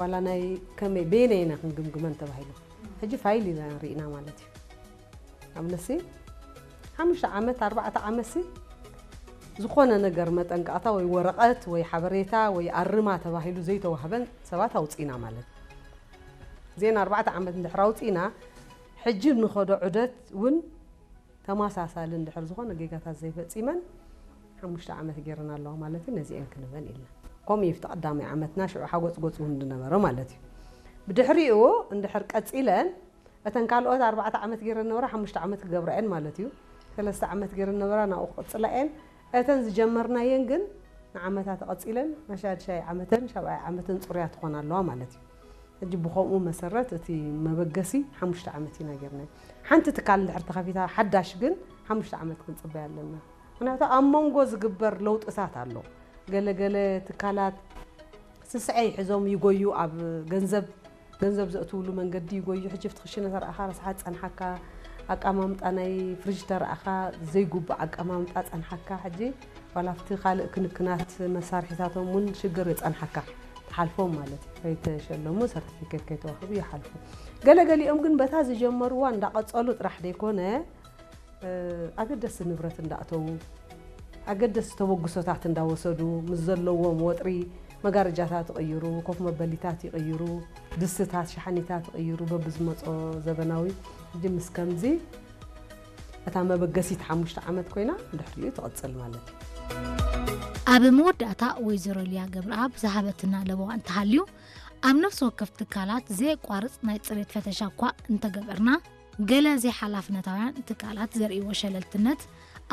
ዋላ ናይ ከመይ በየናይ ኢና ክንግምግመን ተባሂሉ ሕጂ ፋይል ኢና ርኢና ማለት እዩ። ኣብነሲ ሓሙሽተ ዓመት ኣርባዕተ ዓመትሲ ዝኾነ ነገር መጠንቀቕታ ወይ ወረቐት ወይ ሓበሬታ ወይ ኣርማ ተባሂሉ ዘይተዋህበን ሰባት ኣውፅእና ማለት እዩ። እዚአን ኣርባዕተ ዓመት እንድሕር ኣውፅእና ሕጂ ንኸዶ ዑደት እውን ተመሳሳሊ እንድሕር ዝኾነ ጌጋታት ዘይፈፂመን ሓሙሽተ ዓመት ገይረን ኣለዋ ማለት እዩ። ነዚአን ክንበን ኢልና ከምኡ እዩ። እቲ ቀዳማይ ዓመትና ሽዑ ሓጎፅጎፅ እውን ዝነበረ ማለት እዩ። ብድሕሪኡ እንድሕር ቀፂለን እተን ካልኦት ኣርባዕተ ዓመት ገይረን ነበራ ሓሙሽተ ዓመት ክገብራ እየን ማለት እዩ። ሰለስተ ዓመት ገይረን ነበራ ናብኡ ክቕፅላ እየን። እተን ዝጀመርናየን ግን ንዓመታት ቀፂለን ናይ ሻድሻይ ዓመተን ሻብዓይ ዓመተን ፅሩያት ትኾና ኣለዋ ማለት እዩ። ሕጂ ብኸምኡ መሰረት እቲ መበገሲ ሓሙሽተ ዓመት ኢና ጌርናዮ። ሓንቲ ትካል እንድሕር ተኸፊታ ሓዳሽ ግን ሓሙሽተ ዓመት ክንፅበያ ኣለና። ምክንያቱ ኣብ መንጎ ዝግበር ለውጥታት ኣሎ። ገለገለ ትካላት ስስዐ ይሕዞም ይጎዩ፣ ኣብ ገንዘብ ገንዘብ ዘእትውሉ መንገዲ ይጎዩ። ሕጂ ኣብቲ ክሽነ ተረኣኻ ረስሓት ጸንሓካ፣ ኣቀማምጣ ናይ ፍሪጅ ተረኣኻ ዘይጉቡእ ኣቀማምጣ ጸንሓካ። ሕጂ ዋላ ኣብቲ ካልእ ክንክናት መሳርሒታቶም እውን ሽግር የጸንሓካ። ትሓልፎም ማለት እዩ። ከይተሸለሙ ሰርቲፊኬት ከይተዋህቡ ይሓልፉ። ገለገሊኦም ግን በታ ዝጀመርዋ እንዳቐጸሉ ጥራሕ ደይኮነ፣ እ፣ ኣገደስቲ ንብረት እንዳእተዉ፣ ኣገደስቲ ተበግሶታት እንዳወሰዱ፣ ምስ ዘለዎም ወጥሪ መጋረጃታት ይቕይሩ፣ ኮፍ መበሊታት ይቕይሩ፣ ድስትታት፣ ሸሓኒታት ይቕይሩ፣ በብዝመጾ ዘበናዊ። ሕጂ ምስ ከምዚ እታ መበገሲት ሓሙሽተ ዓመት ኮይና፣ ድሕሪኡ ትቕጽል ማለት እዩ። ኣብ መወዳእታ ወይዘሮ ሊያ ገብረኣብ ዝሃበትና ለበዋ እንተሃልዩ፣ ኣብ ነፍሲ ወከፍ ትካላት ዘየቋርጽ ናይ ጽሬት ፈተሻ እኳ እንተገበርና፣ ገለ ዘይሓላፍነታውያን ትካላት ዘርእይዎ ሸለልትነት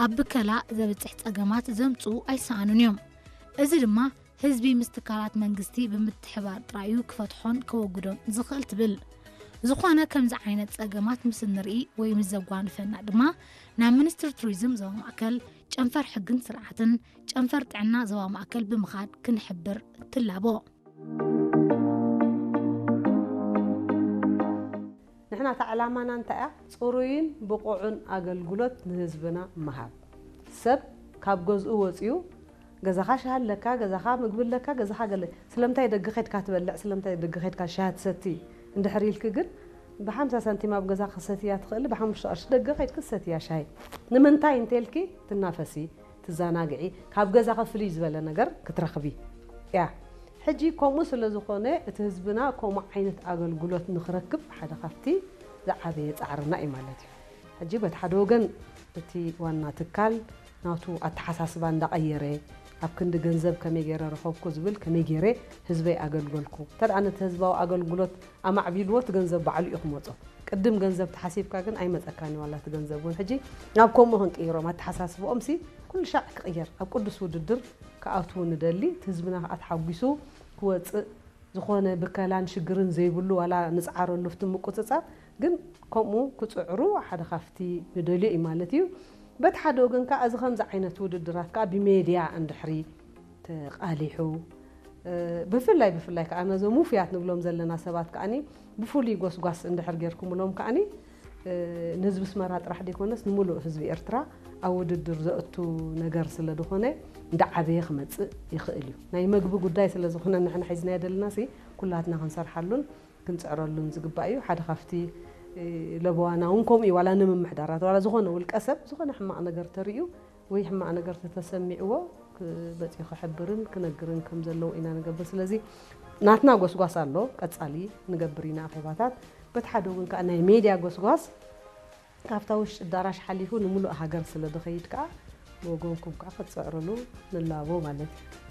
ኣብ ብከላ ዘብጽሕ ጸገማት ዘምጽኡ ኣይሰኣኑን እዮም። እዚ ድማ ህዝቢ ምስ ትካላት መንግስቲ ብምትሕባር ጥራዩ ክፈትሖን ከወግዶን ዝኽእል ትብል። ዝኾነ ከምዚ ዓይነት ጸገማት ምስ እንርኢ ወይ ምስ ዘጓንፈና ድማ ናብ ሚኒስትሪ ቱሪዝም ዞባ ማእከል፣ ጨንፈር ሕግን ስርዓትን ጨንፈር ጥዕና ዞባ ማእከል ብምኻድ ክንሕብር ትላቦ። ንሕና እታ ዕላማና እንታይ እያ? ጽሩይን ብቑዕን ኣገልግሎት ንህዝብና ምሃብ። ሰብ ካብ ገዝኡ ወጺኡ ገዛኻ ሻሂ ኣለካ፣ ገዛኻ ምግቢ ኣለካ፣ ገዛኻ ገለ ስለምንታይ ደገ ኸድካ ትበልዕ፣ ስለምንታይ ደገ ኸድካ ሻሂ ትሰቲ እንድሕር ኢልኪ ግን ብሓምሳ ሳንቲም ኣብ ገዛ ክሰትያ ትኽእል፣ ብሓሙሽተ ቅርሺ ደገ ኸድኪ ትሰትያ ሻሂ ንምንታይ እንተልኪ ትናፈሲ፣ ትዘናግዒ፣ ካብ ገዛኺ ፍልይ ዝበለ ነገር ክትረኽቢ እያ። ሕጂ ከምኡ ስለ ዝኾነ እቲ ህዝብና ከምኡ ዓይነት ኣገልግሎት ንኽረክብ ሓደ ካብቲ ዝዓበየ ጻዕርና እዩ ማለት እዩ። ሕጂ በቲ ሓደ ወገን እቲ ዋና ትካል ናቱ ኣተሓሳስባ እንዳቐየረ ኣብ ክንዲ ገንዘብ ከመይ ገይረ ረኸብኩ ዝብል ከመይ ገይረ ህዝበይ ኣገልገልኩ እንተ ደኣ ነቲ ህዝባዊ ኣገልግሎት ኣማዕቢልዎ እቲ ገንዘብ ባዕሉ እዩ ክመጾ። ቅድም ገንዘብ ተሓሲብካ ግን ኣይመጸካን እዩ ዋላ እቲ ገንዘብ እውን። ሕጂ ናብ ከምኡ ክንቅይሮም ኣተሓሳስብኦም ሲ ኩሉ ሻዕ ክቕየር ኣብ ቅዱስ ውድድር ክኣትዉ ንደሊ። እቲ ህዝብና ከዓ ተሓጒሱ ክወፅእ ዝኾነ ብከላን ሽግርን ዘይብሉ ዋላ ንፅዓረሉ ፍቲ ምቁፅፃር ግን ከምኡ ክፅዕሩ ሓደ ካብቲ ንደልዮ እዩ ማለት እዩ። በቲ ሓደ ወገን ከዓ እዚ ከምዚ ዓይነት ውድድራት ከዓ ብሜድያ እንድሕሪ ተቓሊሑ ብፍላይ ብፍላይ ከዓ ነዞም ውፉያት ንብሎም ዘለና ሰባት ከዓኒ ብፍሉይ ጎስጓስ እንድሕር ጌርኩምሎም ከዓኒ ንህዝቢ ኣስመራ ጥራሕ ዘይኮነስ ንምሉእ ህዝቢ ኤርትራ ኣብ ውድድር ዘእቱ ነገር ስለ ዝኾነ እንዳዓበየ ክመጽእ ይኽእል እዩ። ናይ መግቢ ጉዳይ ስለ ዝኾነ ንሕና ሒዝናዮ ዘለና ሲ ኩላትና ክንሰርሓሉን ክንጽዕረሉን ዝግባእ እዩ። ሓደ ካብቲ ለበዋና እውን ከምኡ እዩ። ዋላ ንምምሕዳራት ዋላ ዝኾነ ውልቀ ሰብ ዝኾነ ሕማቕ ነገር ተርእዩ ወይ ሕማቕ ነገር ተተሰሚዕዎ መፂኡ ክሕብርን ክነግርን ከም ዘለዎ ኢና ንገብር። ስለዚ ናትና ጎስጓስ ኣሎ፣ ቀፃሊ ንገብር ኢና ኣኼባታት። በቲ ሓደ እውን ከዓ ናይ ሜድያ ጎስጓስ ካብታ ውሽጢ ኣዳራሽ ሓሊፉ ንምሉእ ሃገር ስለ ዝኸይድ ከዓ ብወገንኩም ከዓ ክትፅዕርሉ ንላቦ ማለት እዩ።